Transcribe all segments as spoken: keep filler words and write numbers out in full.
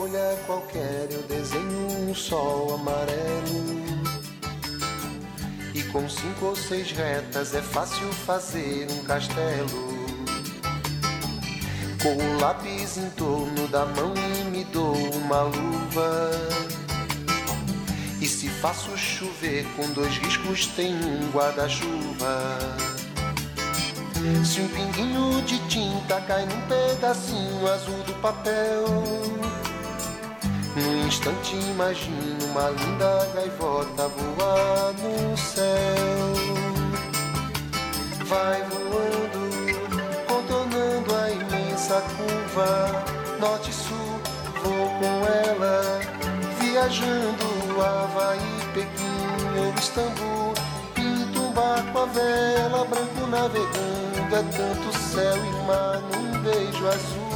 folha qualquer eu desenho um sol amarelo, e com cinco ou seis retas é fácil fazer um castelo. Com o lápis em torno da mão e me dou uma luva, e se faço chover com dois riscos tem um guarda-chuva. Se um pinguinho de tinta cai num pedacinho azul do papel, num instante imagino uma linda gaivota voar no céu. Vai voando, contornando a imensa curva, norte e sul, vou com ela, viajando Havaí, Pequim ou Istambul. Pinto um barco a vela, branco navegando, é tanto céu e mar num beijo azul.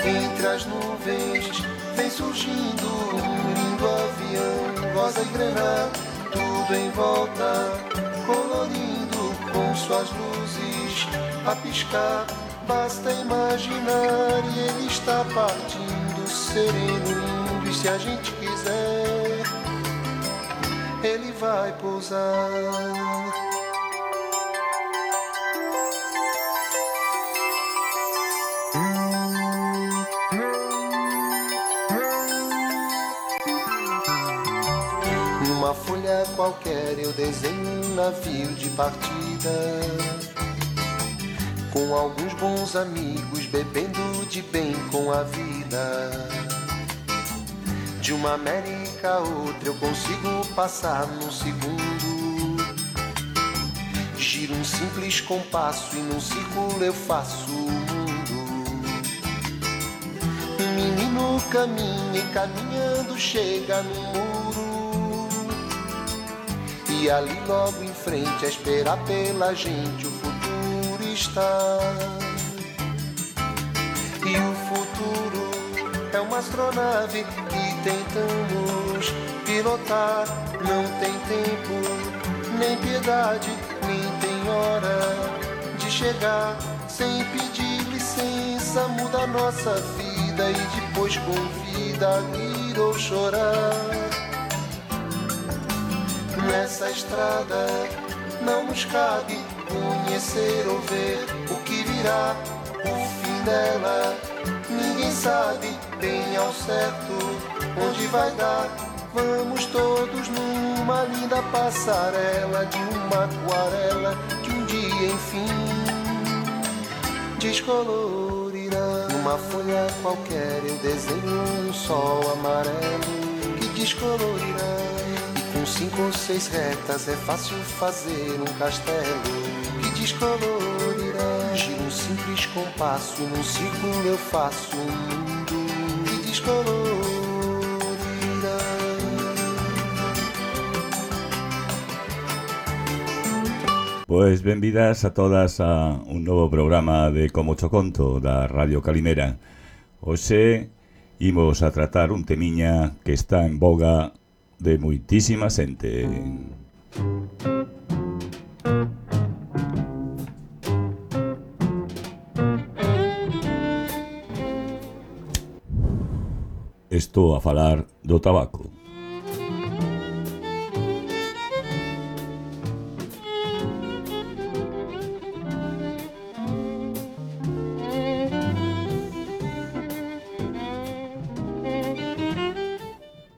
Entre as nuvens vem surgindo um lindo avião, rosa e grená, tudo em volta, colorindo com suas luzes a piscar. Basta imaginar e ele está partindo, sereno, lindo, e se a gente quiser, ele vai pousar. Numa folha qualquer eu desenho um navio de partida, com alguns bons amigos bebendo de bem com a vida. De uma América a outra eu consigo passar num segundo. Giro um simples compasso e num círculo eu faço o mundo. Um menino caminha e caminhando chega no muro, e ali logo em frente a esperar pela gente o futuro está. E o futuro é uma astronave que tentamos pilotar. Não tem tempo, nem piedade, nem tem hora de chegar. Sem pedir licença muda a nossa vida e depois convida a rir ou chorar. Nessa estrada não nos cabe conhecer ou ver o que virá, o fim dela. Ninguém sabe bem ao certo onde vai dar. Vamos todos numa linda passarela de uma aquarela que um dia enfim descolorirá. Numa folha qualquer eu desenho um sol amarelo que descolorirá, e com cinco ou seis retas é fácil fazer um castelo que descolorirá. Giro um simples compasso e num círculo eu faço um mundo que descolorirá. Pois benvidas a todas a un novo programa de Como Cho Conto da Radio Calimera. Hoxe imos a tratar un temiña que está en boga de moitísima xente. Estou a falar do tabaco.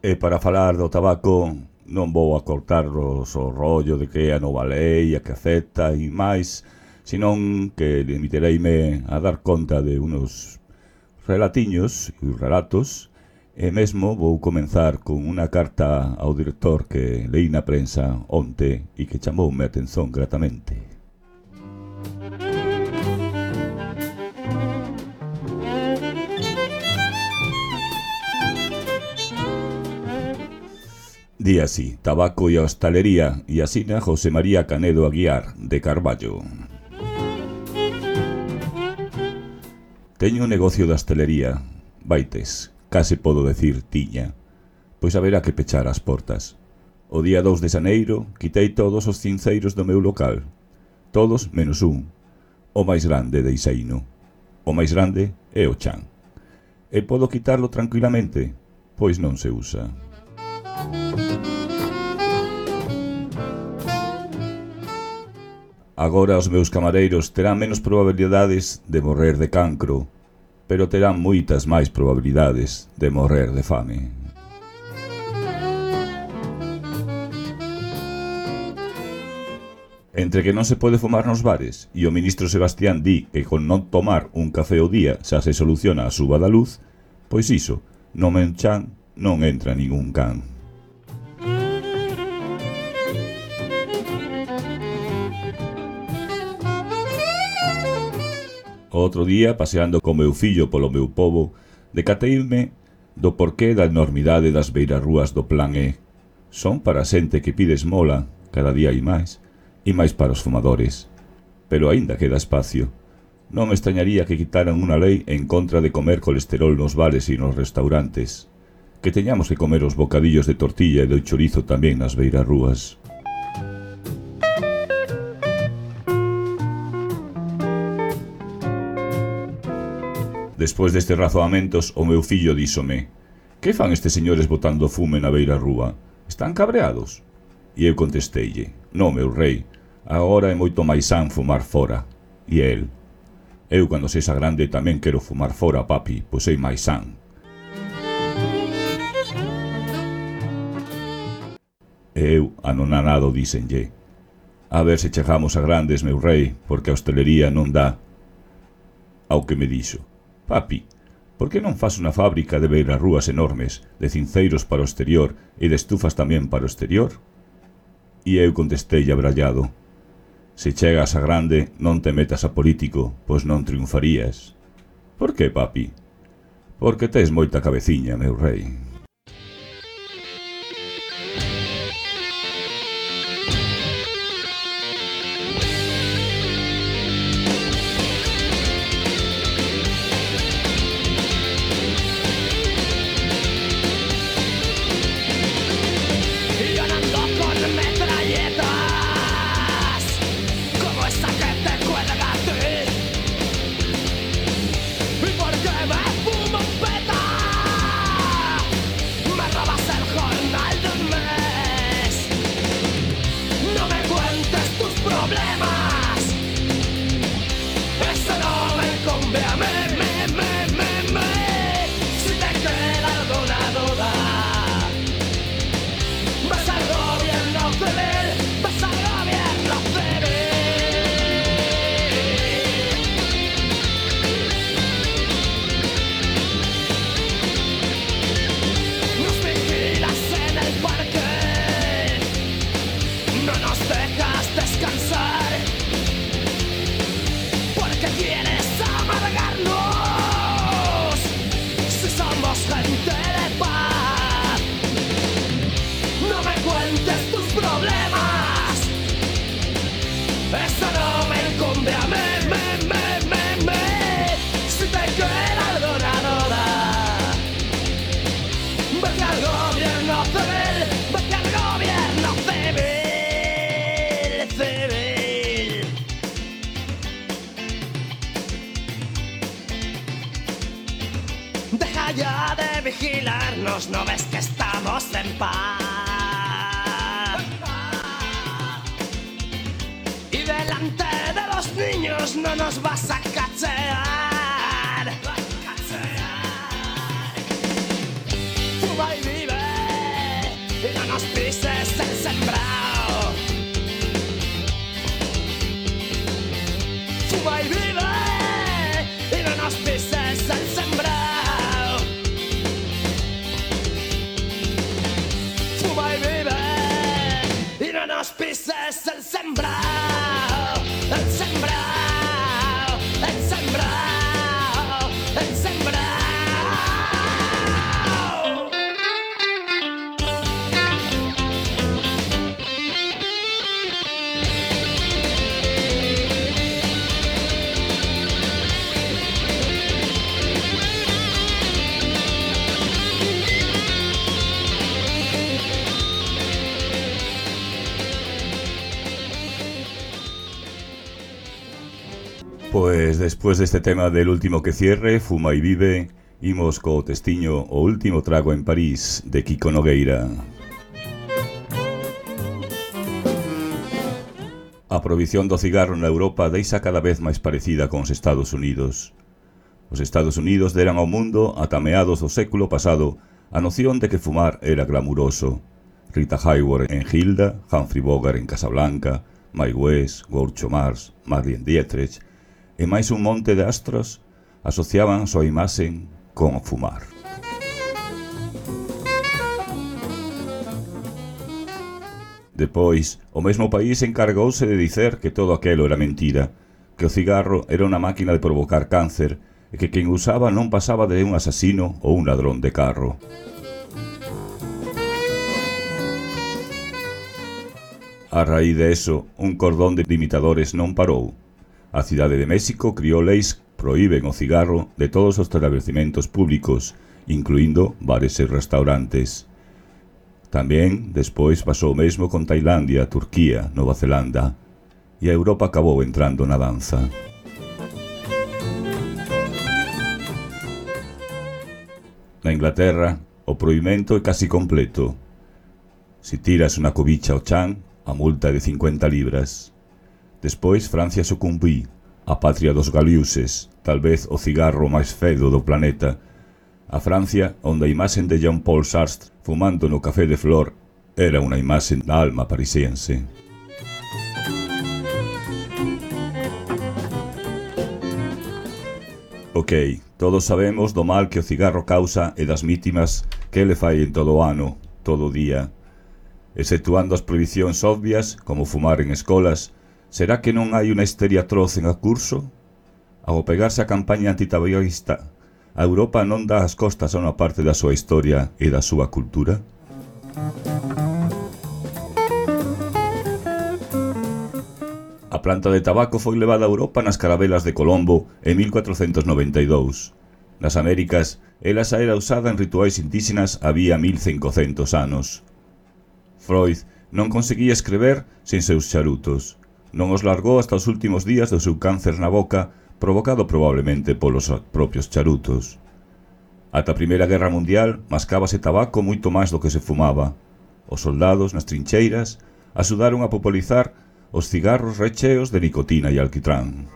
E para falar do tabaco non vou a cortarros o rollo de que a nova lei, a que afecta e máis, senón que limitereime a dar conta de unos relatiños e relatos, e mesmo vou comenzar con unha carta ao director que leí na prensa onte e que chamoume a atención gratamente. Di así: tabaco e hostalería, e asina José María Canedo Aguiar, de Carballo. Teño un negocio de hostalería, vaites, case podo decir tiña, pois haberá que pechar as portas. O día dous de xaneiro quitei todos os cinceiros do meu local, todos menos un, o máis grande deixeino. O máis grande é o chan, E podo quitarlo tranquilamente? Pois non se usa. Agora os meus camareiros terán menos probabilidades de morrer de cancro, pero terán moitas máis probabilidades de morrer de fame. Entre que non se pode fumar nos bares e o ministro Sebastián di que con non tomar un café ao día xa se soluciona a suba da luz, pois iso, no Menchan non entra ningún can. O outro día, paseando co meu fillo polo meu pobo, decateime do porqué da enormidade das beirarrúas do Plan E. Son para a xente que pide esmola, cada día hai máis, e máis para os fumadores. Pero aínda queda espacio. Non me extrañaría que quitaran unha lei en contra de comer colesterol nos bares e nos restaurantes. Que teñamos que comer os bocadillos de tortilla e do chorizo tamén nas beirarrúas. Despois destes razoamentos, o meu fillo díxome: que fan estes señores botando fume na beirarrúa? Están cabreados? E eu contesteille: non, meu rei, agora é moito máis san fumar fora. E el: eu cando sexa grande tamén quero fumar fora, papi, pois sei máis san. E eu, anonanado, díxenlle: a ver se chegamos a grandes, meu rei, porque a hostelería non dá. Ao que me dixo: papi, por que non fas unha fábrica de beirarrúas enormes, de cinceiros para o exterior e de estufas tamén para o exterior? E eu contestei abrallado: se chegas a grande, non te metas a político, pois non triunfarías. Por que, papi? Porque tes moita cabeciña, meu rei. Ya de vigilarnos, no ves que estamos en paz. Y delante de los niños no nos vas a cachear. Fuma y vive y no nos pises el sembrado. Fuma y vive y no nos pises el sembrado. Nos pises el sembrado, el sembrado, el sembrado, el sembrado. Pues después de este tema del último que cierre, Fuma y Vive, Imos co testiño O último trago en París, de Kiko Nogueira. A prohibición do cigarro na Europa deixa cada vez máis parecida con os Estados Unidos. Os Estados Unidos deran ao mundo, ata meados do século pasado, a noción de que fumar era glamuroso. Rita Hayworth en Hilda, Humphrey Bogart en Casablanca, Mae West, Groucho Marx, Marlene Dietrich e máis un monte de astros asociaban a súa imaxe con fumar. Depois, o mesmo país encargouse de dicer que todo aquelo era mentira, que o cigarro era unha máquina de provocar cáncer e que quen usaba non pasaba de un asasino ou un ladrón de carro. A raíz de eso, un cordón de imitadores non parou. A cidade de México criou leis que proíben o cigarro de todos os estabelecimentos públicos, incluindo bares e restaurantes. Tamén, despois, pasou o mesmo con Tailandia, Turquía, Nova Zelanda, e a Europa acabou entrando na danza. Na Inglaterra, o prohibimento é casi completo. Si tiras unha cobicha ao chan, a multa é de cincuenta libras. Despois, Francia sucumbí, a patria dos galiuses, tal vez o cigarro máis fedo do planeta. A Francia, onde a imaxen de Jean-Paul Sartre fumando no café de Flor era unha imaxen da alma parisiense. Ok, todos sabemos do mal que o cigarro causa e das vítimas que ele fai en todo o ano, todo o día. Exceptuando as prohibicións obvias, como fumar en escolas, será que non hai unha histeria atroz en a curso? Ao pegarse a campaña antitabaquista, a Europa non dá as costas a unha parte da súa historia e da súa cultura? A planta de tabaco foi levada a Europa nas carabelas de Colombo en mil cuatrocentos noventa e dous. Nas Américas, ela xa era usada en rituais indígenas había mil cincocentos anos. Freud non conseguía escrever sen seus charutos. Non os largou hasta os últimos días do seu cáncer na boca, provocado probablemente polos propios charutos. Ata a Primeira Guerra Mundial mascábase tabaco moito máis do que se fumaba. Os soldados nas trincheiras axudaron a popularizar os cigarros recheos de nicotina e alquitrán.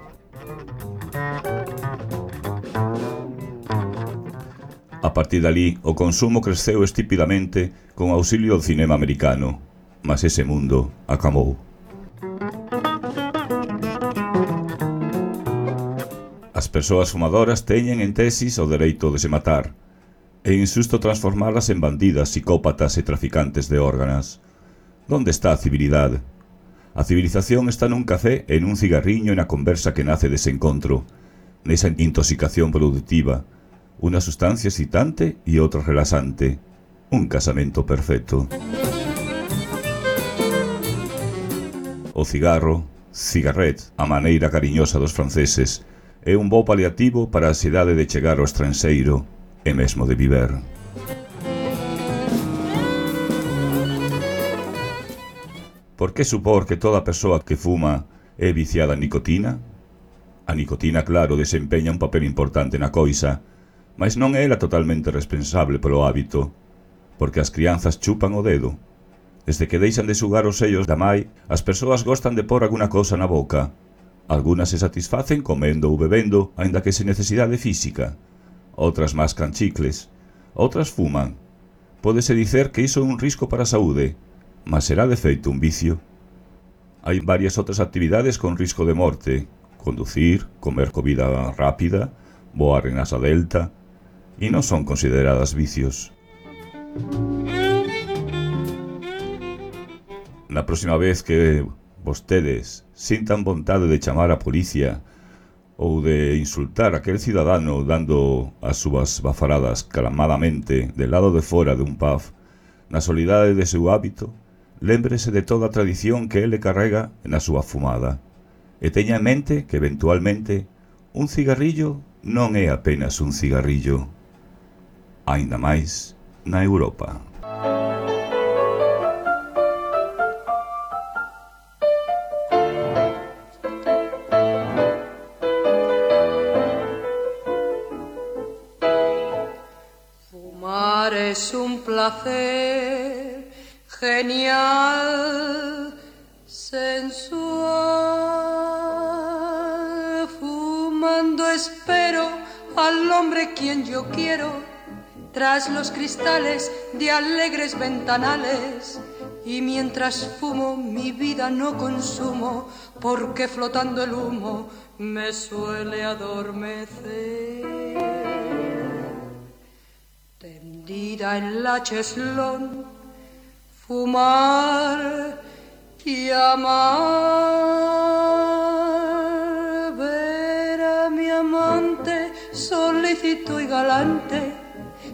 A partir dali, o consumo creceu estúpidamente con auxilio do cinema americano, mas ese mundo acabou. As persoas fumadoras teñen en tesis o dereito de se matar. É insusto transformalas en bandidas, psicópatas e traficantes de órganos. Donde está a civilidade? A civilización está nun café e nun cigarriño e na conversa que nace dese encontro, nesa intoxicación productiva, unha sustancia excitante e outra relaxante, un casamento perfecto. O cigarro, cigarret, a maneira cariñosa dos franceses, é un bo paliativo para a ansiedade de chegar ao estranxeiro e mesmo de viver. Por que supor que toda persoa que fuma é viciada en nicotina? A nicotina, claro, desempeña un papel importante na coisa, mas non é ela totalmente responsable polo hábito, porque as crianzas chupan o dedo. Desde que deixan de sugar os sellos da mai, as persoas gostan de pôr alguna cousa na boca. Algunas se satisfacen comendo ou bebendo, aínda que sen necesidade física. Outras mascan chicles. Outras fuman. Pódese dicer que iso é un risco para a saúde, mas será de feito un vicio. Hai varias outras actividades con risco de morte. Conducir, comer comida rápida, voar en asa delta, e non son consideradas vicios. Na próxima vez que vostedes sintan vontade de chamar a policía ou de insultar a aquel cidadano dando as súas bafaradas calmadamente del lado de fora de un pub, na solidade de seu hábito, lémbrese de toda a tradición que ele carrega na súa fumada e teña en mente que eventualmente un cigarrillo non é apenas un cigarrillo, aínda máis na Europa. placer genial, sensual. Fumando espero al hombre quien yo quiero, tras los cristales de alegres ventanales. Y mientras fumo mi vida no consumo, porque flotando el humo me suele adormecer. Tendida en la cheslón, fumar y amar, ver a mi amante solícito y galante,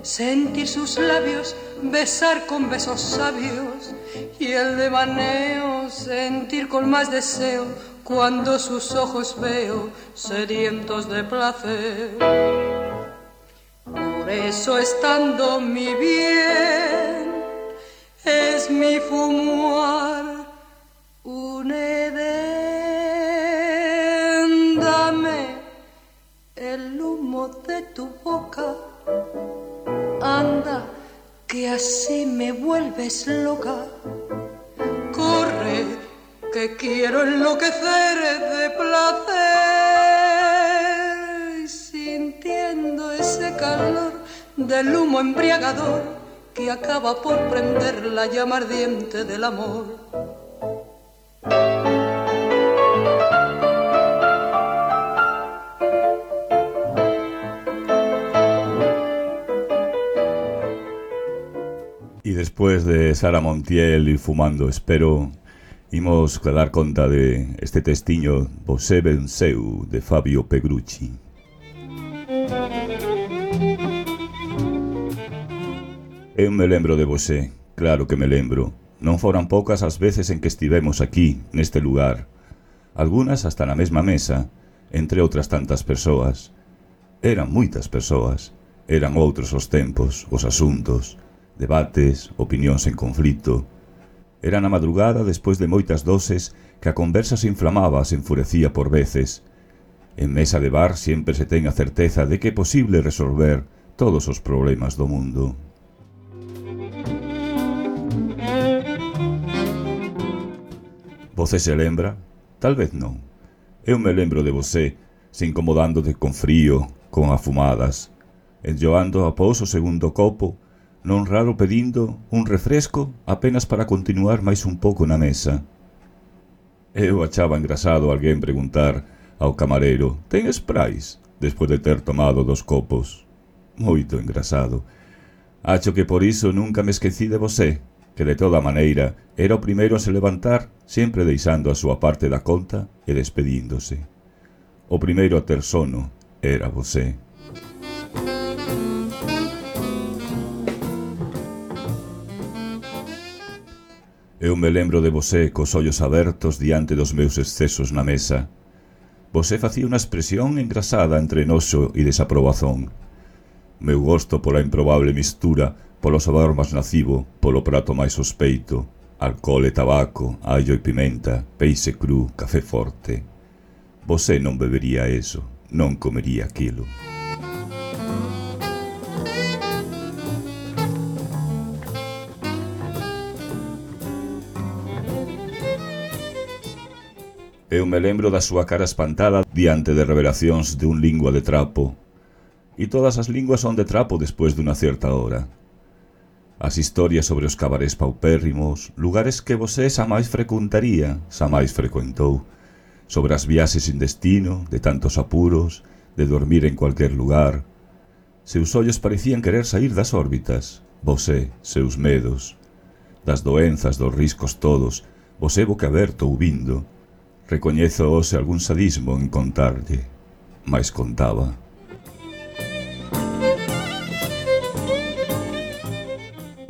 sentir sus labios, besar con besos sabios, y el devaneo sentir con más deseo cuando sus ojos veo sedientos de placer. Por eso estando mi bien es mi fumar un edén. Dame el humo de tu boca, anda, que así me vuelves loca. Corre, que quiero enloquecer de placer, sintiendo ese calor del humo embriagador que acaba por prender la llama ardiente del amor. Y después de Sara Montiel y Fumando Espero, imos a dar conta de este testiño Vosé venceu de Fabio Pegrucci. Eu me lembro de vosé, claro que me lembro. Non foran poucas as veces en que estivemos aquí, neste lugar. Algunas hasta na mesma mesa, entre outras tantas persoas. Eran moitas persoas. Eran outros os tempos, os asuntos, debates, opinións en conflito. Era na madrugada, despois de moitas doses, que a conversa se inflamaba, se enfurecía por veces. En mesa de bar sempre se ten a certeza de que é posible resolver todos os problemas do mundo. Você se lembra? Tal vez non. Eu me lembro de você, se incomodándote con frío, con afumadas, enjoando após o segundo copo, non raro pedindo un refresco apenas para continuar máis un pouco na mesa. Eu achaba engrasado alguén preguntar ao camareiro: ten sprais? Despois de ter tomado dos copos. Moito engrasado. Acho que por iso nunca me esquecí de você, que de toda maneira era o primeiro a se levantar, sempre deixando a súa parte da conta e despedíndose. O primeiro a ter sono era você. Eu me lembro de você cos ollos abertos diante dos meus excesos na mesa. Você facía unha expresión engrasada entre noxo e desaprobazón. Meu gosto pola improbable mistura, polo sabor máis nocivo, polo prato máis sospeito, alcohol e tabaco, allo e pimenta, peixe cru, café forte. Você non bebería eso, non comería aquilo. Eu me lembro da súa cara espantada diante de revelacións de un lingua de trapo. E todas as linguas son de trapo despois dunha certa hora. As historias sobre os cabarés paupérrimos, lugares que você xa máis frecuentaría, xa máis frecuentou, sobre as viaxes sin destino, de tantos apuros, de dormir en cualquier lugar. Seus ollos parecían querer sair das órbitas, você, seus medos, das doenzas, dos riscos todos, você boquiaberto ouvindo. Recoñezo hoxe algún sadismo en contarlle, mais contaba.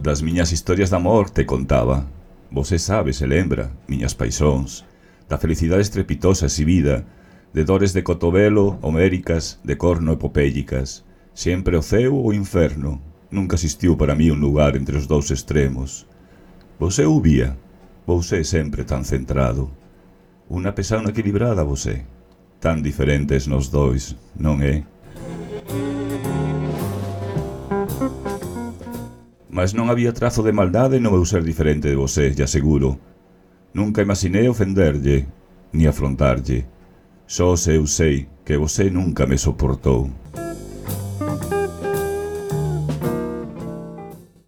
Das miñas historias de amor te contaba. Você sabe, se lembra, miñas paixóns, da felicidade estrepitosa exhibida, de dores de cotovelo, homéricas, de corno epopélicas, sempre o ceo ou o inferno. Nunca existiu para mí un lugar entre os dous extremos. Você o vía, você sempre tan centrado. Unha pesauna equilibrada você, tan diferentes nos dois, non é? Mas non había trazo de maldade no meu ser diferente de vosé, lle aseguro. Nunca imaginei ofenderlle, ni afrontarlle. Só se eu sei que vosé nunca me soportou.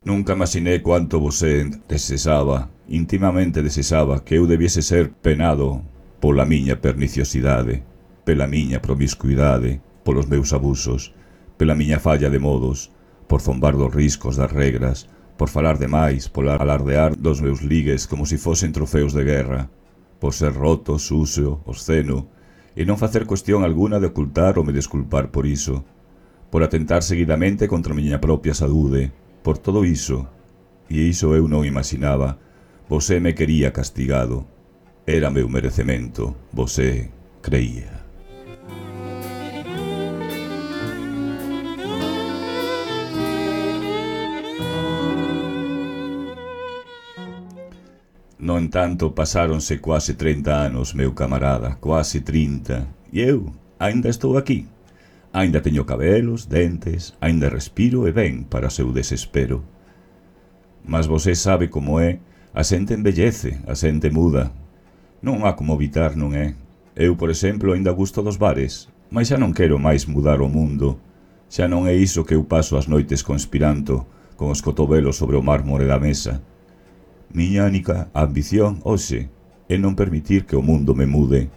Nunca imaginei cuánto vosé desexaba, intimamente desexaba, que eu debiese ser penado pola miña perniciosidade, pela miña promiscuidade, polos meus abusos, pela miña falla de modos, por zombar dos riscos das regras, por falar demais, por alardear dos meus ligues como se fosen trofeos de guerra, por ser roto, sucio, obsceno, e non facer cuestión alguna de ocultar ou me desculpar por iso, por atentar seguidamente contra a miña propia saúde, por todo iso, e iso eu non imaginaba, vosé me quería castigado, era meu merecemento, vosé creía. No entanto, pasáronse quase trinta anos, meu camarada, quase trinta, e eu aínda estou aquí. Aínda teño cabelos, dentes, aínda respiro e ben para seu desespero. Mas vosé sabe como é, a xente embellece, a xente muda. Non há como evitar, non é? Eu, por exemplo, aínda gusto dos bares, mas xa non quero máis mudar o mundo. Xa non é iso que eu paso as noites conspirando, con os cotobelos sobre o mármore da mesa. Miña única ambición, hoxe, é non permitir que o mundo me mude.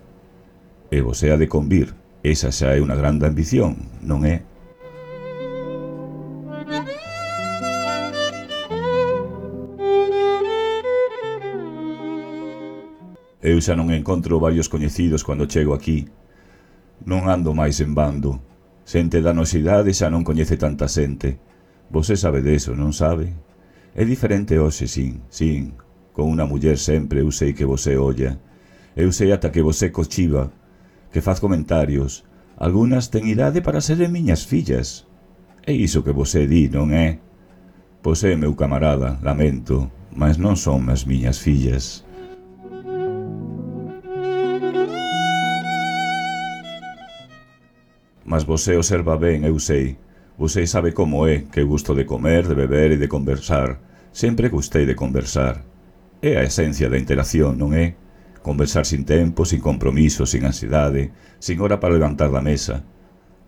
E vosé ha de convir, esa xa é unha grande ambición, non é? Eu xa non encontro varios coñecidos cando chego aquí. Non ando máis en bando. Xente da nosidade xa non coñece tanta xente. Vosé sabe deso, non sabe? É diferente hoxe, sin, sin. Con unha muller sempre eu sei que vosé olla. Eu sei ata que vosé cochiva, que faz comentarios. Algunas ten idade para seren miñas fillas. É iso que vosé di, non é? Vosé, meu camarada, lamento, mas non son as miñas fillas. Mas vosé observa ben, eu sei. Vosé sabe como é, que gusto de comer, de beber e de conversar. Sempre gustei de conversar. É a esencia da interacción, non é? Conversar sin tempo, sin compromiso, sin ansiedade, sin hora para levantar da mesa.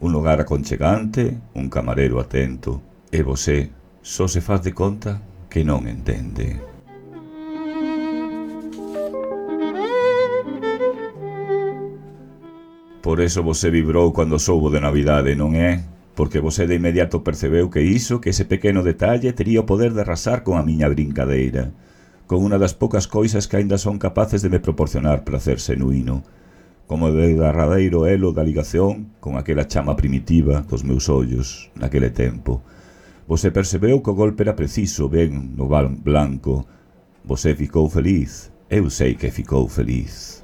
Un lugar aconchegante, un camarero atento. E vosé só se faz de conta que non entende. Por eso vosé vibrou cando soubo de Navidade, non é? Porque vosé de inmediato percebeu que iso, que ese pequeno detalle, tería o poder de arrasar con a miña brincadeira, con unha das poucas coisas que aínda son capaces de me proporcionar placer xenuíno, como o derradeiro elo da ligación con aquela chama primitiva dos meus ollos naquele tempo. Vosé percebeu que o golpe era preciso, ben no val blanco. Vosé ficou feliz, eu sei que ficou feliz.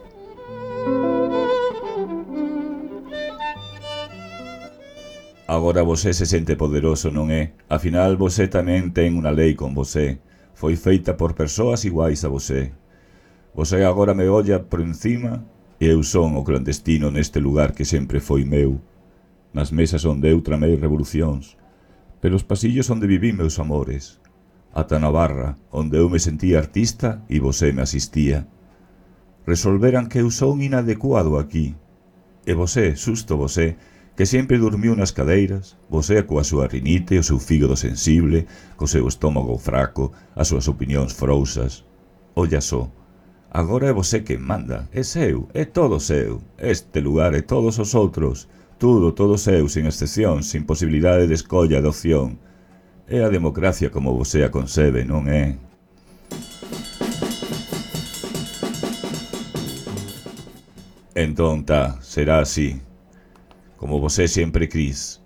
Agora vosé se sente poderoso, non é? Afinal, vosé tamén ten unha lei con vosé. Foi feita por persoas iguais a vosé. Vosé agora me olla por encima e eu son o clandestino neste lugar que sempre foi meu. Nas mesas onde eu tramei revolucións, pelos pasillos onde viví meus amores, ata na barra onde eu me sentía artista e vosé me asistía. Resolveran que eu son inadecuado aquí. E vosé, susto vosé, que sempre dormiu nas cadeiras, vosé coa súa rinite, o seu fígado sensible, co seu estómago fraco, as súas opinións frousas. Olla só, agora é vosé quen manda, é seu, é todo seu, este lugar e todos os outros, tudo, todo seu, sin excepción, sin posibilidade de escolla de opción. É a democracia como vosé a concebe, non é? Entón, tá, será así. Como vosé sempre quis.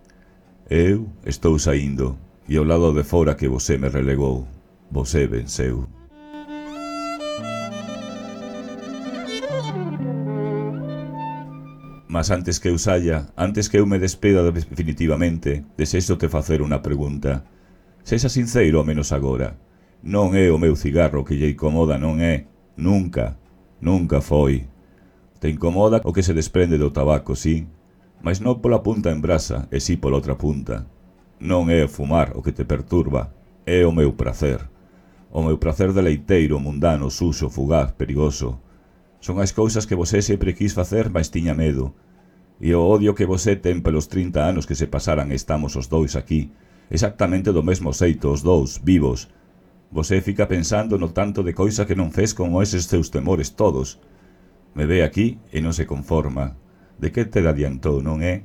Eu estou saindo, e ao lado de fora que vosé me relegou, vosé venceu. Mas antes que eu saia, antes que eu me despeda definitivamente, desexo te facer unha pregunta. Sexa sincero ao menos agora. Non é o meu cigarro que lle incomoda, non é. Nunca, nunca foi. Te incomoda o que se desprende do tabaco, sí, mas non pola punta en brasa, e si pola outra punta. Non é o fumar o que te perturba, É o meu prazer. O meu prazer deleiteiro, mundano, suxo, fugaz, perigoso. Son as cousas que você sempre quis facer, mas tiña medo. E o odio que você ten pelos trinta anos que se pasaran estamos os dous aquí, exactamente do mesmo xeito, os dous, vivos. Você fica pensando no tanto de coisa que non fes con eses teus temores todos. Me ve aquí e non se conforma. De que te adiantou, non é?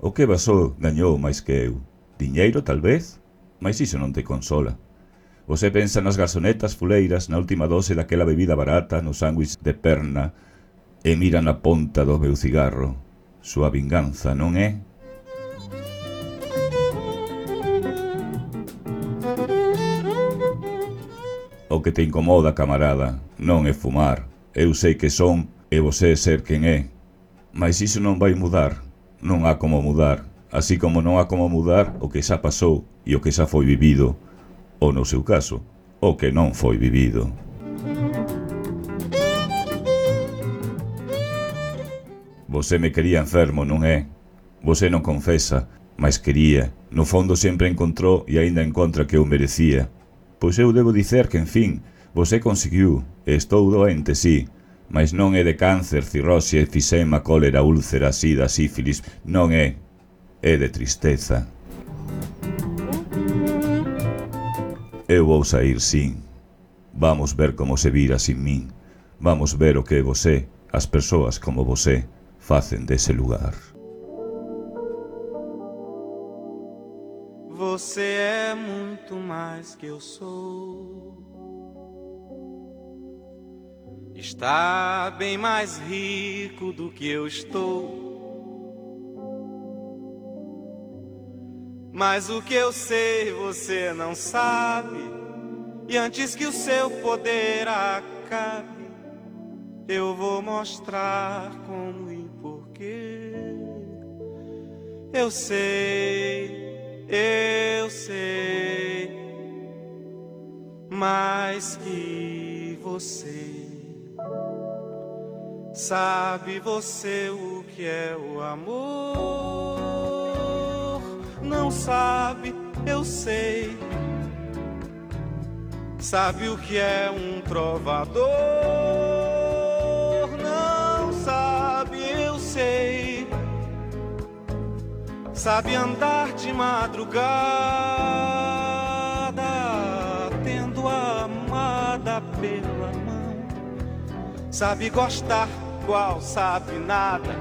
O que basou gañou máis que eu? Diñeiro, tal vez? Mais iso non te consola. Você pensa nas garzonetas fuleiras, na última dose daquela bebida barata, no sándwich de perna, e mira na ponta do meu cigarro. Súa vinganza, non é? O que te incomoda, camarada, non é fumar. Eu sei que son e você ser quen é. Mas iso non vai mudar. Non há como mudar. Así como non há como mudar o que xa pasou e o que xa foi vivido. Ou no seu caso, o que non foi vivido. Você me quería enfermo, non é? Você non confesa, mas quería. No fondo sempre encontrou e aínda encontra que eu merecía. Pois eu debo dicer que, en fin, você conseguiu. Estou doente, sí, mas non é de cáncer, cirrose, efisema, cólera, úlcera, sida, sífilis. Non é. É de tristeza. Eu vou sair, sin. Vamos ver como se vira sin min. Vamos ver o que você, as persoas como você, facen dese lugar. Você é muito mais que eu sou. Está bem mais rico do que eu estou. Mas o que eu sei você não sabe. E antes que o seu poder acabe, eu vou mostrar como e porquê. Eu sei, eu sei, mais que você. Sabe você o que é o amor? Não sabe, eu sei. Sabe o que é um trovador? Não sabe, eu sei. Sabe andar de madrugada, tendo a amada pela mão. Sabe gostar qual sabe nada.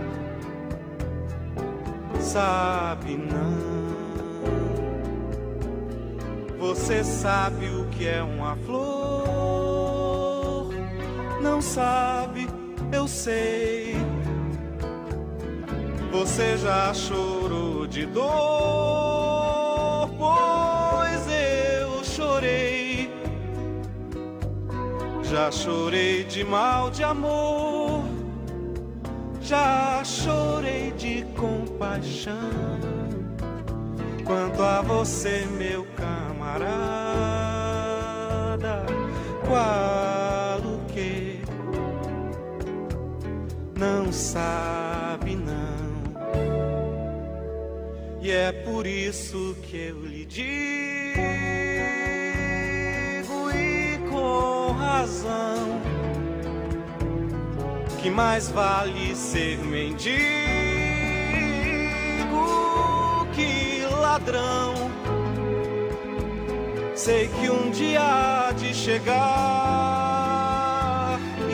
Sabe não. Você sabe o que é uma flor? Não sabe, eu sei. Você já chorou de dor, pois eu chorei. Já chorei de mal de amor. Já chorei de compaixão. Quanto a você, meu camarada, qual o que? Não sabe não. E é por isso que eu lhe digo, e com razão, que mais vale ser mendigo que ladrão. Sei que um dia há de chegar,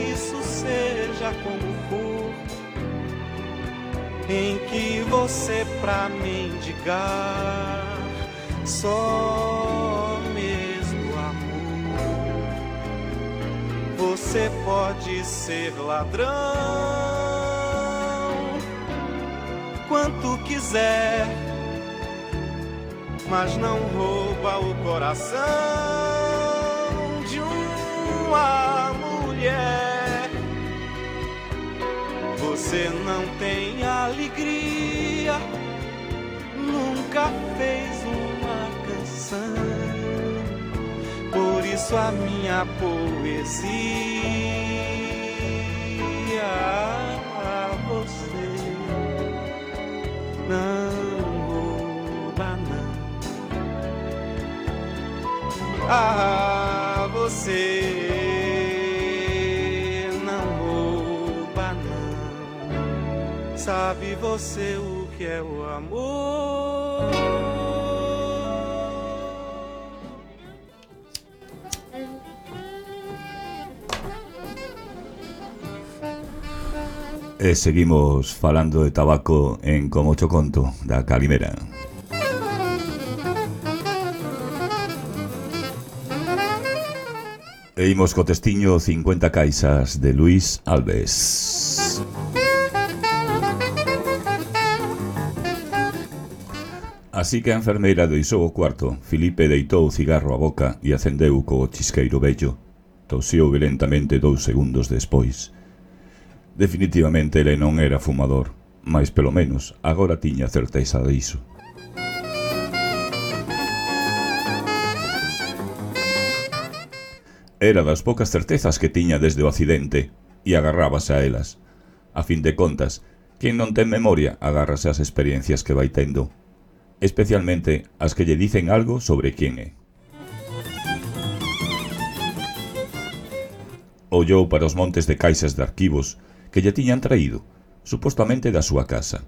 isso seja como for, em que você pra mendigar só mesmo amor. Você pode ser ladrão quanto quiser, mas não rouba o coração de uma mulher. Você não tem alegria, nunca fez uma canção. Por isso a minha poesia a você não rouba não. você não rouba, não. Sabe você o que é o amor? E seguimos falando de tabaco en Como cho conto, da Calimera. E imos co testiño cincuenta caixas de Luis Alves. Así que a enfermeira deixou o cuarto, Filipe deitou o cigarro á boca e acendeu co chisqueiro vello. Tosiu violentamente dous segundos despois. Definitivamente ele non era fumador, mas pelo menos agora tiña certeza diso. Era das poucas certezas que tiña desde o accidente e agarrábase a elas. A fin de contas, quen non ten memoria agárrase ás experiencias que vai tendo, especialmente as que lle dicen algo sobre quen é. Ollou para os montes de caixas de arquivos que lle tiñan traído, supostamente da súa casa.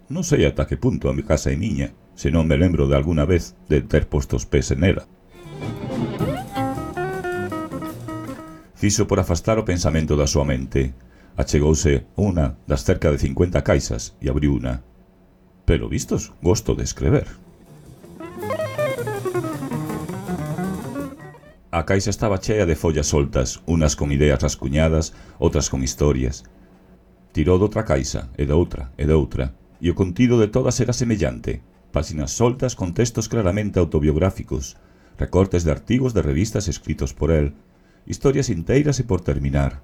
Non sei ata que punto a mi casa é miña, se non me lembro de alguna vez de ter posto os pés en ela. Fixo por afastar o pensamento da súa mente. Achegouse unha das cerca de cincuenta caixas e abriu unha. Pero vistos, gosto de escrever. A caixa estaba chea de follas soltas, unas con ideas rascuñadas, outras con historias. Tirou doutra caixa, e doutra, e doutra, e o contido de todas era semellante. Páxinas soltas con textos claramente autobiográficos, recortes de artigos de revistas escritos por el, historias inteiras e por terminar.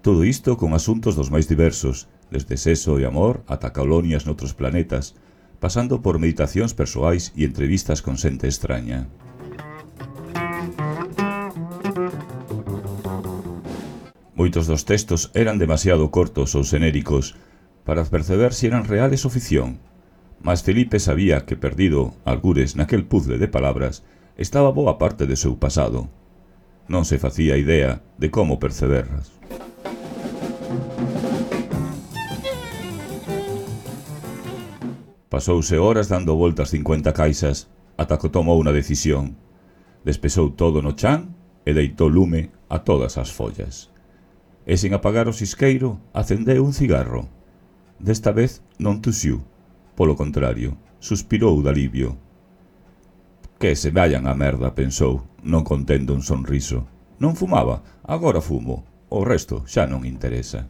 Todo isto con asuntos dos máis diversos, desde sexo e amor ata colonias noutros planetas, pasando por meditacións persoais e entrevistas con xente extraña. Moitos dos textos eran demasiado cortos ou xenéricos para perceber se eran reales ou ficción, mas Felipe sabía que perdido algures naquel puzzle de palabras estaba boa parte de seu pasado. Non se facía idea de como perceberlas. Pasouse horas dando voltas cincuenta caixas ata que tomou unha decisión. Despesou todo no chan e deitou lume a todas as follas. E sen apagar o xisqueiro, acendeu un cigarro. Desta vez non tuxiu, polo contrario, suspirou de alivio. Que se vayan a merda, pensou, non contendo un sonriso. Non fumaba, agora fumo, o resto xa non interesa.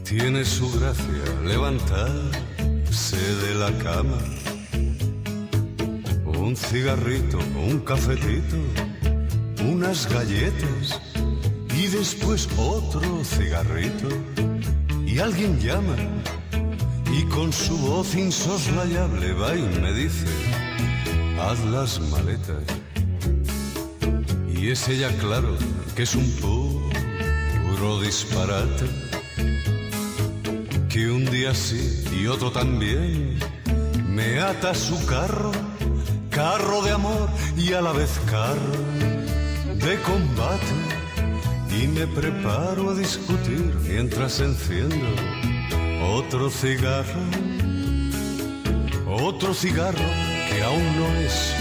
Tiene su gracia levantarse de la cama, un cigarrito, un cafetito, unas galletas y después otro cigarrito y alguien llama y con su voz insoslayable va y me dice: haz las maletas. Y es ella, claro, que es un puro disparate, que un día sí y otro también me ata su carro, carro de amor y a la vez carro de combate, y me preparo a discutir mientras enciendo otro cigarro, otro cigarro que aún no es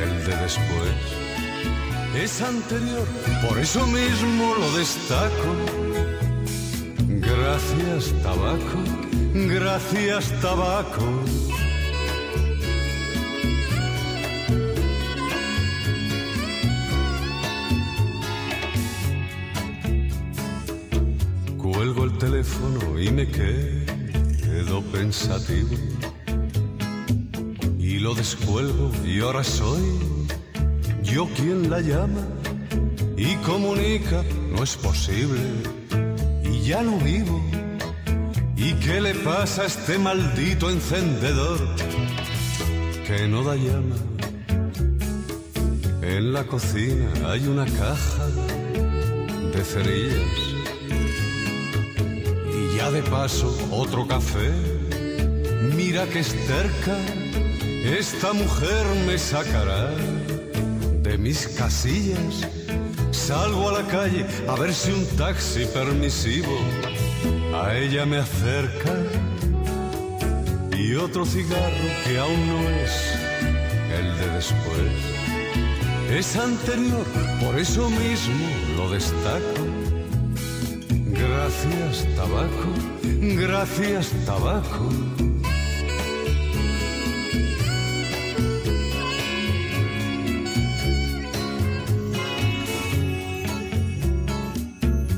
el de después, es anterior, por eso mismo lo destaco. Gracias, tabaco, gracias, tabaco. Cuelgo el teléfono y me quedo pensativo, y lo descuelgo y ahora soy yo quien la llama y comunica, no es posible. Ya no vivo ¿Y qué le pasa a este maldito encendedor que no da llama? En la cocina hay una caja de cerillas y ya de paso otro café. Mira que es terca, esta mujer me sacará de mis casillas. Salgo a la calle a ver si un taxi permisivo a ella me acerca. Y otro cigarro que aún no es el de después, es anterior, por eso mismo lo destaco. Gracias, tabaco, gracias, tabaco.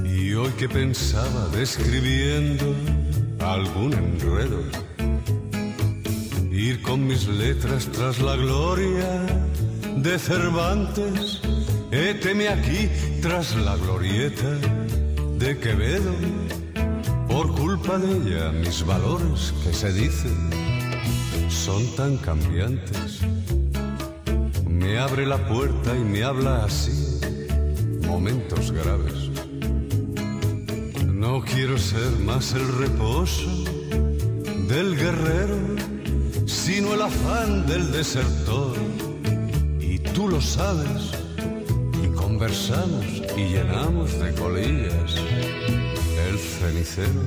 Y hoy que pensaba describiendo algún enredo, ir con mis letras tras la gloria de Cervantes, héteme aquí tras la glorieta de Quevedo. Por culpa de ella mis valores que se dicen son tan cambiantes. Me abre la puerta y me habla así, momentos graves. No quiero ser más el reposo del guerrero, sino el afán del desertor. Y tú lo sabes, y conversamos y llenamos de colillas el cenicero.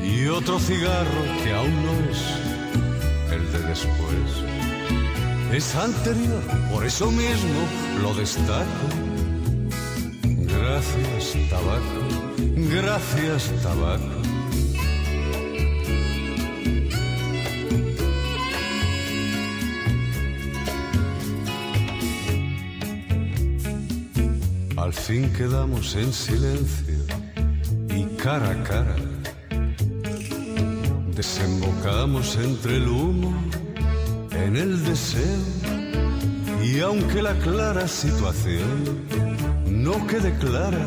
Y otro cigarro que aún no es el de después, es anterior, por eso mismo lo destaco. Gracias, tabaco, gracias, tabaco. Al fin quedamos en silencio y cara a cara desembocamos entre el humo en el deseo. Y aunque la clara situación no quede clara,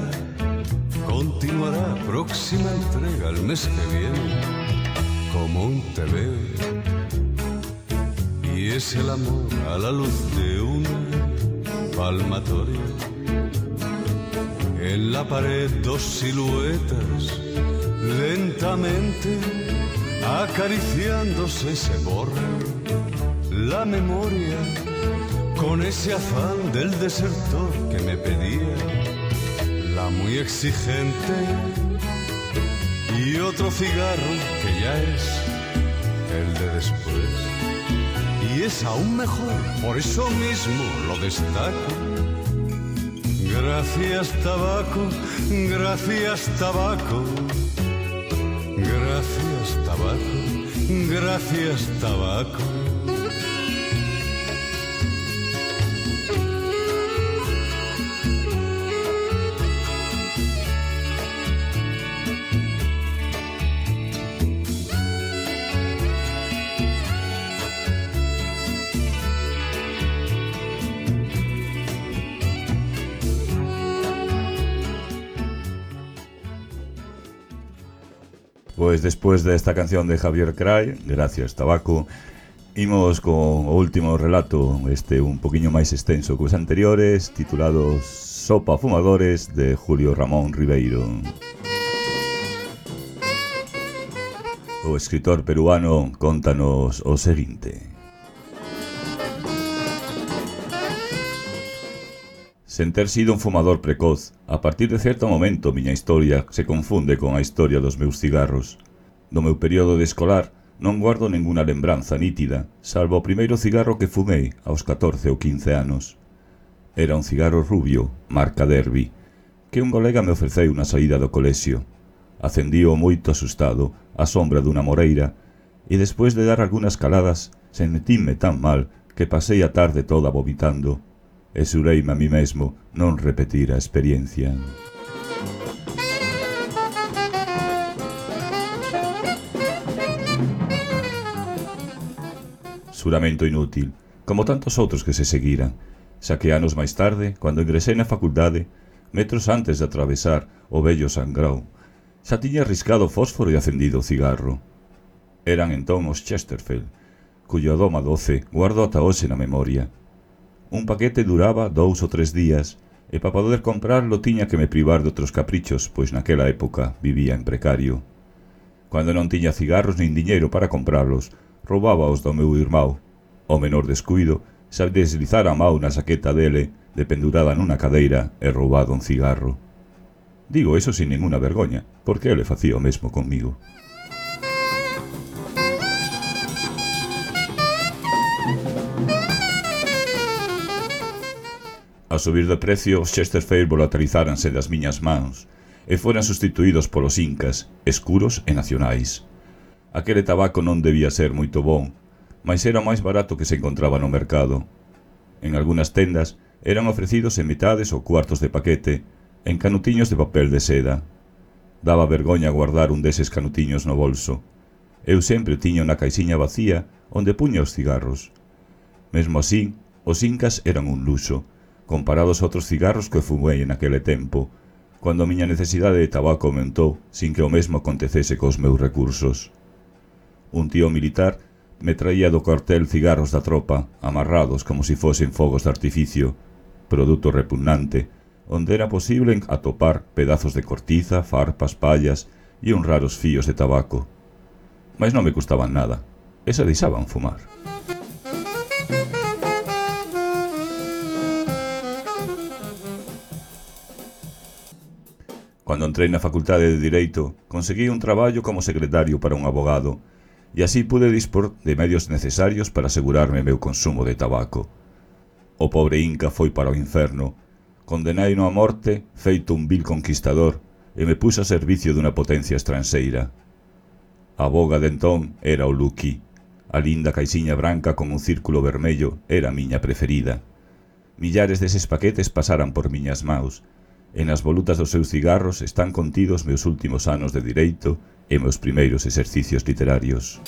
continuará próxima entrega el mes que viene como un te veo. Y es el amor a la luz de una palmatoria. En la pared dos siluetas lentamente acariciándose se borra la memoria con ese afán del desertor que me pedía la muy exigente. Y otro cigarro que ya es el de después, y es aún mejor, por eso mismo lo destaco. Gracias, tabaco, gracias, tabaco. Gracias, tabaco, gracias, tabaco. Pues después de esta canción de Javier Cray, gracias tabaco, imos con o último relato, este un poquinho máis extenso que os anteriores, titulado Sopa Fumadores, de Julio Ramón Ribeiro. O escritor peruano contanos o seguinte: sen ter sido un fumador precoz, a partir de certo momento miña historia se confunde con a historia dos meus cigarros. Do meu período de escolar non guardo ninguna lembranza nítida, salvo o primeiro cigarro que fumei aos catorce ou quince anos. Era un cigarro rubio, marca Derby, que un colega me ofreceu na saída do colexio. Acendío moito asustado á sombra dunha moreira e despois de dar algunhas caladas sentíme tan mal que pasei a tarde toda vomitando. E xureime a mí mesmo non repetir a experiencia. Xuramento inútil, como tantos outros que se seguiran, xa que anos máis tarde, cando ingresei na facultade, metros antes de atravesar o vello Sangrao, Xa tiña riscado o fósforo e acendido o cigarro. Eran entón os Chesterfield, cuyo aroma doce guardo ata hoxe na memoria. Un paquete duraba dous ou tres días, e para poder comprarlo tiña que me privar de outros caprichos, pois naquela época vivía en precario. Cando non tiña cigarros nin diñeiro para comprarlos, roubábaos do meu irmão. O menor descuido, xa deslizara a mão na saqueta dele, dependurada nunha cadeira, e roubado un cigarro. Digo eso sin ninguna vergoña, porque ele facía o mesmo conmigo. A subir de precio, os Chesterfield volatilizáranse das miñas mans e foran sustituídos polos Incas, escuros e nacionais. Aquele tabaco non debía ser moito bon, mas era o máis barato que se encontraba no mercado. En algunhas tendas eran ofrecidos en mitades ou cuartos de paquete, en canutiños de papel de seda. Daba vergoña guardar un deses canutiños no bolso. Eu sempre tiña unha caixiña vacía onde puña os cigarros. Mesmo así, os Incas eran un luxo, comparados a outros cigarros que fumei en aquele tempo, cando a miña necesidade de tabaco aumentou sin que o mesmo acontecese cos meus recursos. Un tío militar me traía do cuartel cigarros da tropa, amarrados como si fosen fogos de artificio, produto repugnante, onde era posible atopar pedazos de cortiza, farpas, pallas e uns raros fíos de tabaco. Mas non me custaban nada, e se deixaban fumar. Cando entrei na Facultade de Direito, conseguí un traballo como secretario para un abogado, e así pude dispor de medios necesarios para asegurarme meu consumo de tabaco. O pobre Inca foi para o inferno, condenaino a morte, feito un vil conquistador, e me puse a servicio dunha potencia estranxeira. A boga de entón era o Lucky. A linda caixiña branca con un círculo vermello era a miña preferida. Millares deses paquetes pasaran por miñas maus, e nas volutas dos seus cigarros están contidos meus últimos anos de direito e meus primeiros exercicios literarios.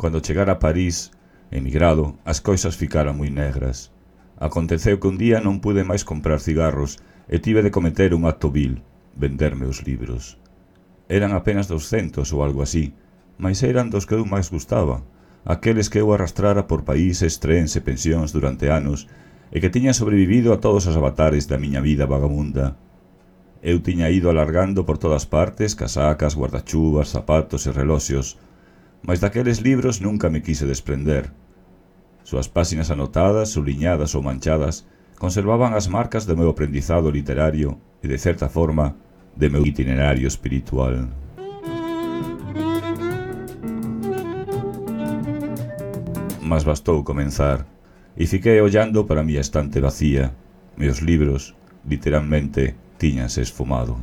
Cando chegara a París, emigrado, as cousas ficaran moi negras. Aconteceu que un día non pude máis comprar cigarros e tive de cometer un acto vil, vender meus libros. Eran apenas douscentos ou algo así, mas eran dos que eu máis gustaba, aqueles que eu arrastrara por países, trens e pensións durante anos e que tiñan sobrevivido a todos os avatares da miña vida vagabunda. Eu tiña ido alargando por todas partes casacas, guardachuvas, zapatos e reloxos, mas daqueles libros nunca me quise desprender. Suas páxinas anotadas, subliñadas ou manchadas conservaban as marcas do meu aprendizado literario e, de certa forma, de meu itinerario espiritual. Mas bastou comenzar, e fiquei ollando para a miña estante vacía. Meus libros, literalmente, tiñanse esfumado.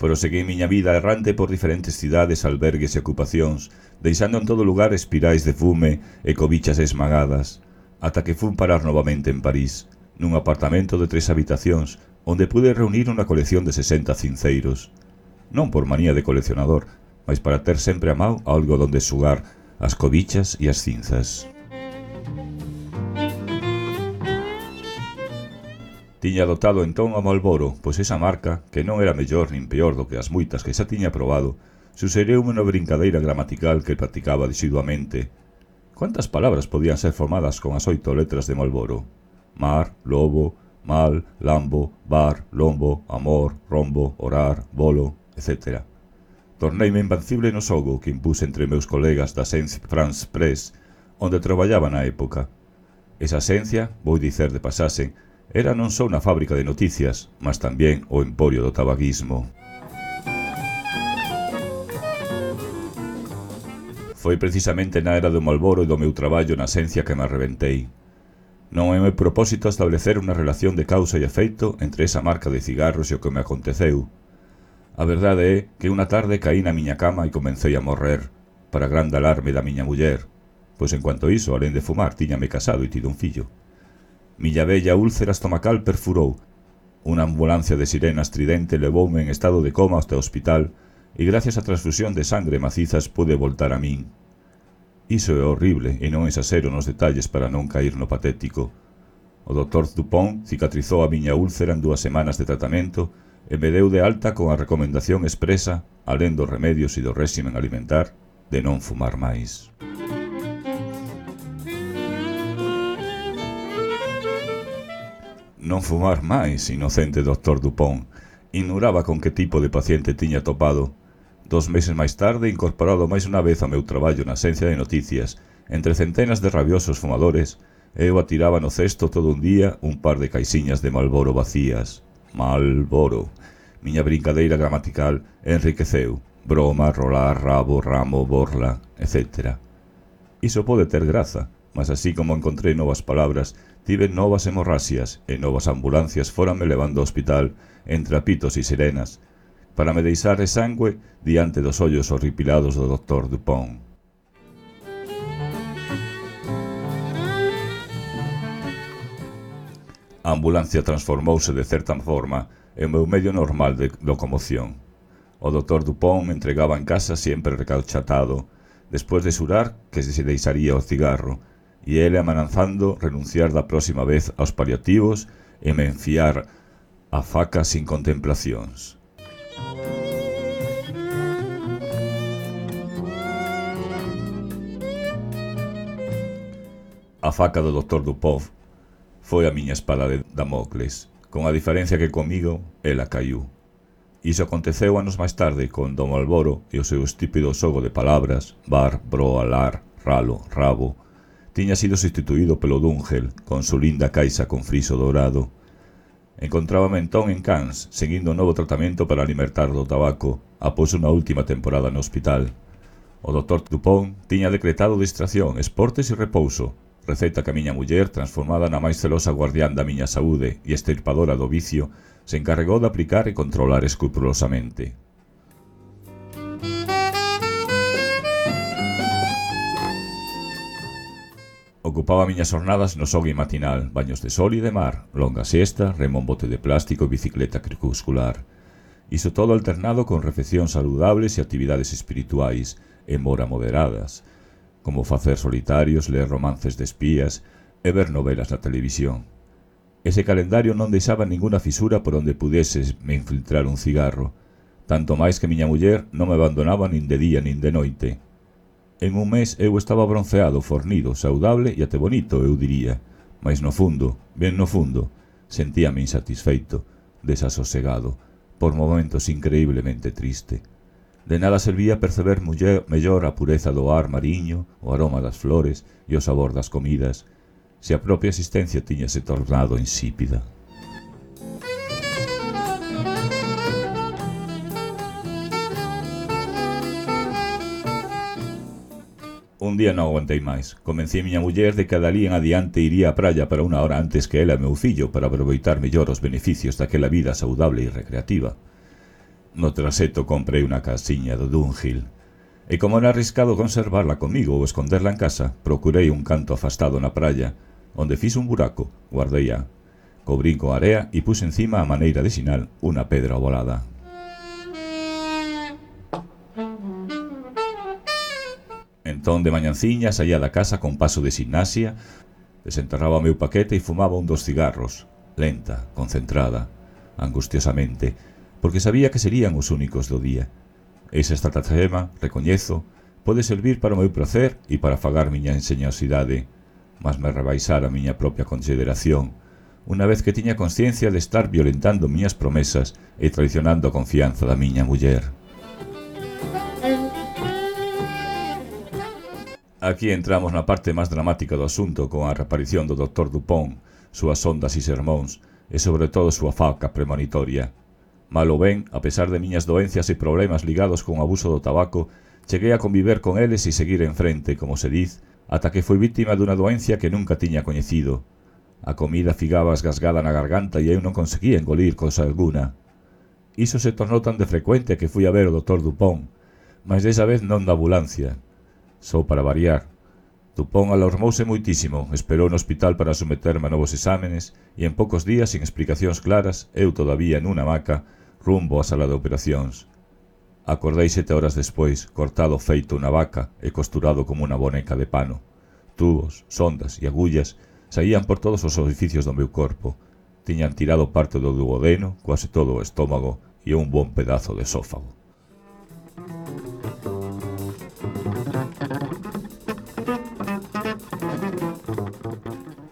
Proseguí miña vida errante por diferentes cidades, albergues e ocupacións, deixando en todo lugar espirais de fume e cobichas esmagadas, ata que fun parar novamente en París, nun apartamento de tres habitacións, onde pude reunir unha colección de sesenta cinceiros. Non por manía de coleccionador, mas para ter sempre a mão algo donde sugar as cobichas e as cinzas. Tiña adoptado entón a Marlboro, pois esa marca, que non era mellor nin peor do que as moitas que xa tiña probado, suxeriume unha brincadeira gramatical que practicaba desiduamente. Quantas palabras podían ser formadas con as oito letras de Marlboro? Mar, lobo, mal, lambo, bar, lombo, amor, rombo, orar, bolo, etcétera. Torneime invencible no xogo que impuse entre meus colegas da Agence France Press, onde traballaba na época. Esa axencia, vou dicer de pasase, era non só unha fábrica de noticias, mas tamén o emporio do tabaquismo. Foi precisamente na era do Marlboro e do meu traballo na axencia que me arrebentei. Non é meu propósito establecer unha relación de causa e efeito entre esa marca de cigarros e o que me aconteceu. A verdade é que unha tarde caí na miña cama e comecei a morrer, para grande alarme da miña muller, pois en cuanto iso, alén de fumar, tiñame casado e tido un fillo. Miña bella úlcera estomacal perfurou. Unha ambulancia de sirena estridente levoume en estado de coma hasta o hospital e gracias á transfusión de sangre macizas pude voltar a min. Iso é horrible e non exasero nos detalles para non cair no patético. O doutor Dupont cicatrizou a miña úlcera en dúas semanas de tratamento e me deu de alta con a recomendación expresa, alén dos remedios e do réximen alimentar, de non fumar máis. Non fumar máis, inocente doutor Dupont. Ignoraba con que tipo de paciente tiña topado. Dos meses máis tarde, incorporado máis unha vez ao meu traballo na Axencia de Noticias, entre centenas de rabiosos fumadores, eu atiraba no cesto todo un día un par de caixiñas de Malboro vacías. Malboro. Miña brincadeira gramatical enriqueceu. Broma, rolar, rabo, ramo, borla, etcétera. Iso pode ter graza, mas así como encontrei novas palabras, tive novas hemorraxias e novas ambulancias foranme levando ao hospital entre apitos e sirenas, para me deixar de sangue diante dos ollos horripilados do doutor Dupont. A ambulancia transformouse de certa forma en meu medio normal de locomoción. O doutor Dupont me entregaba en casa sempre recauchatado, despois de xurar que se deixaría o cigarro, e ele amenazando renunciar da próxima vez aos paliativos e me enfiar a faca sin contemplacións. A faca do doutor Dupont foi a miña espada de Damocles, con a diferencia que comigo ela caiu. Iso aconteceu anos máis tarde con Don Malboro e o seu estúpido xogo de palabras, bar, bro, alar, ralo, rabo, tiña sido sustituído pelo Dungel, con su linda caixa con friso dourado. Encontrábame entón en Cannes, seguindo un novo tratamento para alimentar do tabaco, após unha última temporada no hospital. O doutor Dupont tiña decretado distracción, esportes e repouso, receta que a miña muller, transformada na máis celosa guardián da miña saúde e extirpadora do vicio, se encarregou de aplicar e controlar escrupulosamente. Ocupaba miñas jornadas no xogue matinal, baños de sol e de mar, longa siesta, remo en bote de plástico e bicicleta crepuscular. Iso todo alternado con refeccións saludables e actividades espirituais, e mora moderadas, como facer solitarios, ler romances de espías e ver novelas na televisión. Ese calendario non deixaba ninguna fisura por onde pudese me infiltrar un cigarro, tanto máis que miña muller non me abandonaba nin de día nin de noite. En un mes eu estaba bronceado, fornido, saudable e até bonito, eu diría, mas no fundo, ben no fundo, sentíame insatisfeito, desasosegado, por momentos increíblemente triste. De nada servía perceber muller, mellor a pureza do ar mariño, o aroma das flores e o sabor das comidas, se a propia existencia tiñase tornado insípida. Un día non aguantei máis. Convencí a miña muller de que dali en adiante iría á praia para unha hora antes que ela e meu fillo para aproveitar mellor os beneficios daquela vida saudable e recreativa. No traseto comprei unha casiña do Dunghill, e como era arriscado conservarla comigo ou esconderla en casa, procurei un canto afastado na praia, onde fiz un buraco, guardei a, cobrín con area e puse encima a maneira de sinal unha pedra ovalada. Entón de mañanciña saía da casa con paso de gimnasia, desenterraba o meu paquete e fumaba un dos cigarros, lenta, concentrada, angustiosamente, porque sabía que serían os únicos do día. Esa estratagema, recoñezo, pode servir para o meu placer e para afagar miña enseñosidade, mas me rebaixar a miña propia consideración, unha vez que tiña consciencia de estar violentando miñas promesas e traicionando a confianza da miña muller. Aquí entramos na parte máis dramática do asunto con a reaparición do doutor Dupont, súas ondas e sermóns, e sobre todo súa faca premonitoria. Malo ben, a pesar de miñas doencias e problemas ligados con o abuso do tabaco, cheguei a conviver con eles e seguir en frente, como se diz, ata que foi vítima dunha doencia que nunca tiña coñecido. A comida figaba esgasgada na garganta e eu non conseguía engolir cosa alguna. Iso se tornou tan de frecuente que fui a ver o doutor Dupont, mas desa vez non da ambulancia. Só para variar. Dupont alarmouse moitísimo, esperou no hospital para someterme a novos exámenes e en poucos días, sin explicacións claras, eu todavía nunha hamaca, rumbo á sala de operacións. Acordei sete horas despois, cortado feito unha vaca e costurado como unha boneca de pano. Tubos, sondas e agullas saían por todos os orificios do meu corpo. Tiñan tirado parte do duodeno, quase todo o estómago e un bon pedazo de esófago.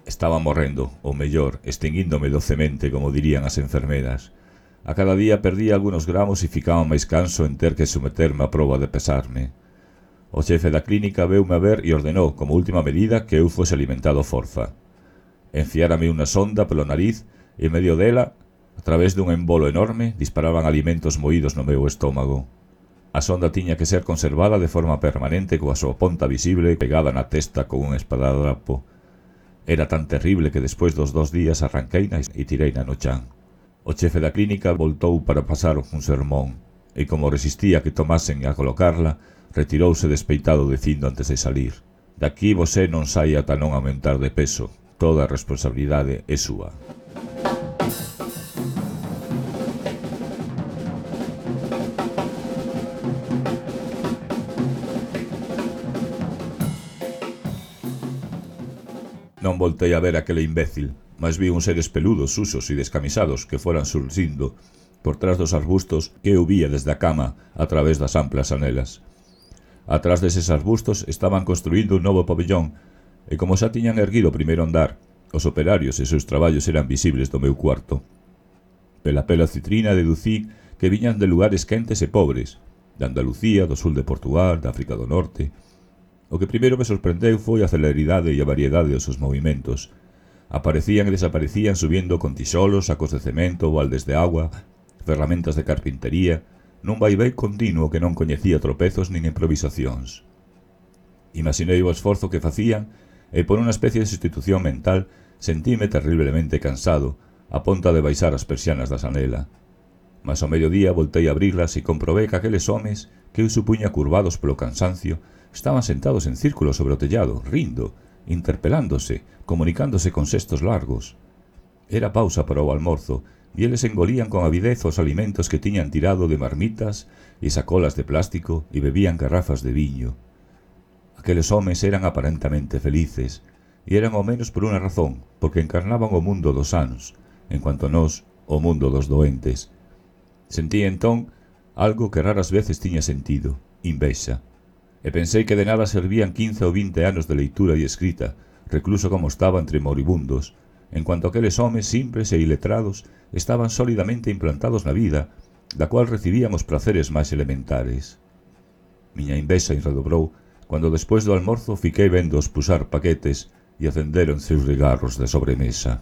Estaba morrendo, ou mellor, extinguíndome docemente, como dirían as enfermeras. A cada día perdía algunos gramos e ficaba máis canso en ter que someterme a proba de pesarme. O xefe da clínica veume a ver e ordenou, como última medida, que eu fose alimentado forza. Enfiárame unha sonda polo nariz e en medio dela, a través dun embolo enorme, disparaban alimentos moídos no meu estómago. A sonda tiña que ser conservada de forma permanente coa súa ponta visible pegada na testa con un espadadrapo. Era tan terrible que despois dos dos días arranqueina e tireina no chan. O chefe da clínica voltou para pasar un sermón, e como resistía que tomasen a colocarla, retirouse despeitado dicindo antes de salir: «Daqui vosé non sai ata non aumentar de peso, toda a responsabilidade é súa». Non voltei a ver aquele imbécil, mas vi uns seres peludos, susos e descamisados que foran surxindo por trás dos arbustos que eu vía desde a cama a través das amplas anelas. Atrás deses arbustos estaban construíndo un novo pabellón e como xa tiñan erguido o primeiro andar, os operarios e seus traballos eran visibles do meu cuarto. Pela pela citrina deducí que viñan de lugares quentes e pobres, de Andalucía, do sul de Portugal, de África do Norte. O que primeiro me sorprendeu foi a celeridade e a variedade dos seus movimentos. Aparecían e desaparecían subindo con tixolos, sacos de cemento, baldes de agua, ferramentas de carpintería, nun vaivén continuo que non coñecía tropezos nin improvisacións. Imaginei o esforzo que facían e por unha especie de sustitución mental sentíme terriblemente cansado, a ponta de baixar as persianas da sanela. Mas ao mediodía voltei a abrirlas e comprobei que aqueles homes, que eu supuña curvados polo cansancio, estaban sentados en círculo sobre o tellado, rindo, interpelándose, comunicándose con xestos largos. Era pausa para o almorzo, e eles engolían con avidez os alimentos que tiñan tirado de marmitas e sacolas de plástico e bebían garrafas de viño. Aqueles homes eran aparentemente felices, e eran ao menos por unha razón, porque encarnaban o mundo dos sanos, en cuanto a nós, o mundo dos doentes. Sentí entón algo que raras veces tiña sentido, invexa. E pensei que de nada servían quince ou vinte anos de leitura e escrita, recluso como estaba entre moribundos, en cuanto aqueles homes simples e iletrados estaban sólidamente implantados na vida, da cual recibían os praceres máis elementares. Miña invexa redobrou cando despois do almorzo fiquei vendoos pusar paquetes e acenderon seus cigarros de sobremesa.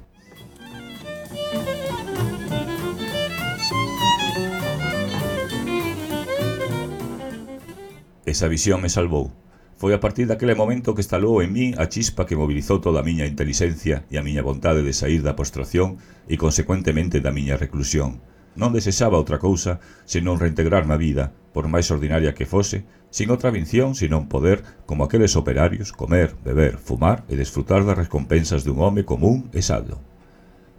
Esa visión me salvou. Foi a partir daquele momento que estalou en mí a chispa que mobilizou toda a miña intelixencia e a miña vontade de sair da postración e, consecuentemente, da miña reclusión. Non desexaba outra cousa senón reintegrarme a vida, por máis ordinaria que fose, sin outra vinción, senón poder, como aqueles operarios, comer, beber, fumar e desfrutar das recompensas dun home común e sado.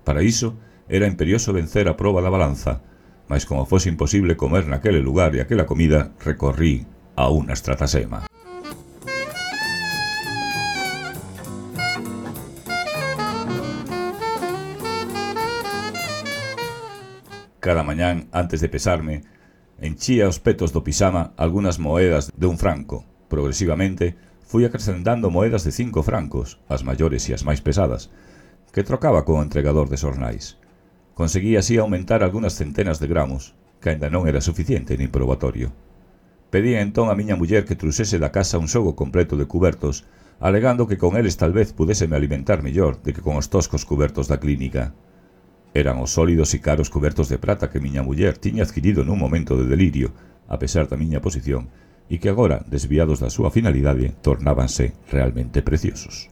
Para iso, era imperioso vencer a proba da balanza, mas como fose imposible comer naquele lugar e aquela comida, recorrí a unha estratasema. Cada mañán, antes de pesarme, enchía os petos do pisama algunhas moedas de un franco. Progresivamente, fui acrecentando moedas de cinco francos, as maiores e as máis pesadas, que trocaba con o entregador de xornais. Conseguía así aumentar algunhas centenas de gramos, que aínda non era suficiente nin probatorio. Pedí entón a miña muller que truxese da casa un xogo completo de cubertos, alegando que con eles tal vez pudéseme alimentar mellor de que con os toscos cubertos da clínica. Eran os sólidos e caros cubertos de prata que miña muller tiña adquirido nun momento de delirio, a pesar da miña posición, e que agora, desviados da súa finalidade, tornábanse realmente preciosos.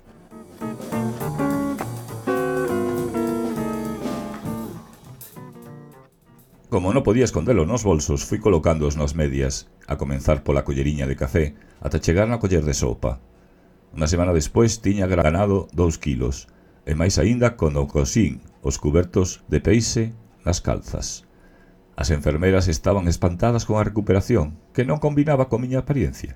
Como non podía escondelo nos bolsos, fui colocándoos nas medias, a comenzar pola colleriña de café, ata chegar na coller de sopa. Unha semana despois tiña ganado dous quilos, e máis aínda cando cosín os cubertos de peixe nas calzas. As enfermeras estaban espantadas con a recuperación, que non combinaba coa miña apariencia.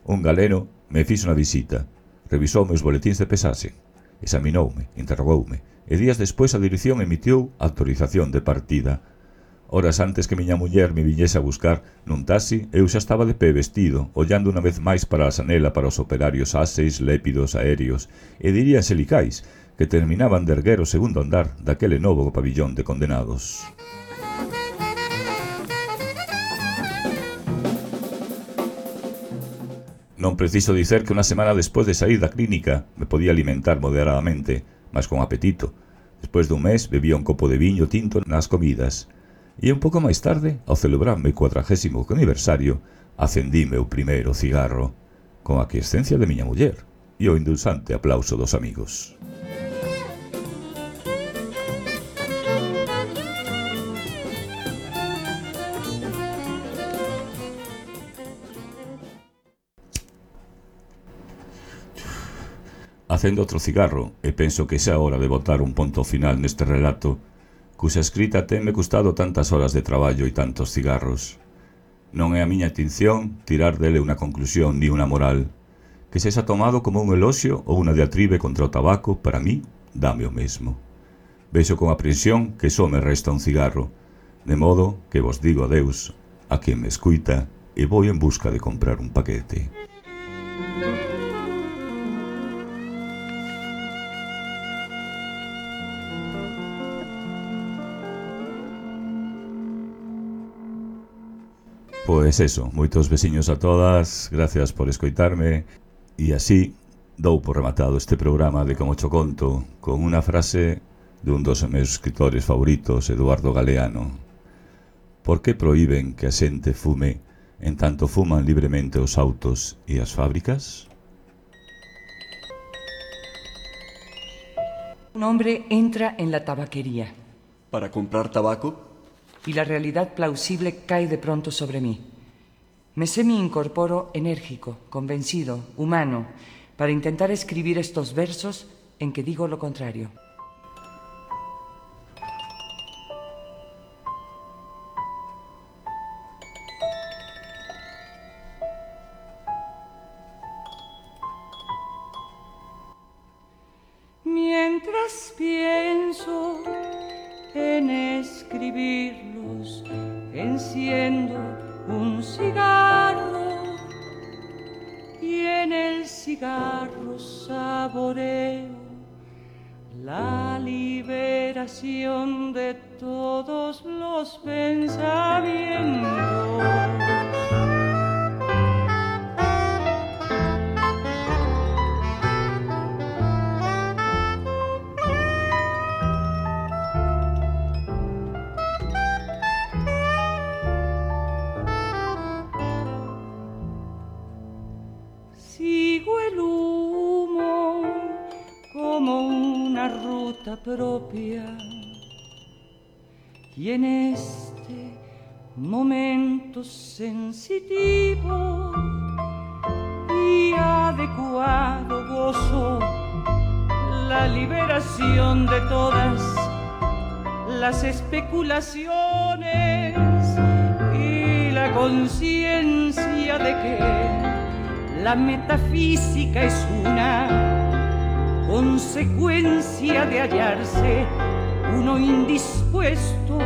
Un galeno me fixo unha visita, revisoume os boletíns de pesaxe, examinoume, interrogoume, e días despois a dirección emitiu autorización de partida. Horas antes que miña muller me viñese a buscar nun taxi, eu xa estaba de pé vestido, ollando unha vez máis para a xanela para os operarios áseis, lépidos, aéreos e diría xelicais que terminaban de erguer o segundo andar daquele novo pabillón de condenados. Non preciso dicer que unha semana despois de sair da clínica me podía alimentar moderadamente, mas con apetito. Despois dun mes bebía un copo de viño tinto nas comidas. E un pouco máis tarde, ao celebrarme o cuadragésimo aniversario, acendíme o primeiro cigarro, con a aquiescencia de miña muller e o indulsante aplauso dos amigos. Acendo outro cigarro e penso que xa é hora de botar un ponto final neste relato, cuxa escrita tenme custado tantas horas de traballo e tantos cigarros. Non é a miña intención tirar dele unha conclusión ni unha moral. Que sexa tomado como un eloxio ou unha diatribe contra o tabaco, para mí, dame o mesmo. Vexo con aprensión que só me resta un cigarro, de modo que vos digo adeus a quen me escuita e vou en busca de comprar un paquete. Pois eso, moitos veciños a todas, gracias por escoitarme, e así dou por rematado este programa de Como cho conto con unha frase dun dos meus escritores favoritos, Eduardo Galeano. Por que proíben que a xente fume en tanto fuman libremente os autos e as fábricas? Un hombre entra en la tabaquería. ¿Para comprar tabaco? Y la realidad plausible cae de pronto sobre mí. Me semi-incorporo enérgico, convencido, humano, para intentar escribir estos versos en que digo lo contrario. Mientras pienso en escribirlos, enciendo un cigarro y en el cigarro saboreo la liberación de todos los pensamientos. Propia, y en este momento sensitivo y adecuado gozo la liberación de todas las especulaciones y la conciencia de que la metafísica es una consecuencia de hallarse uno indispuesto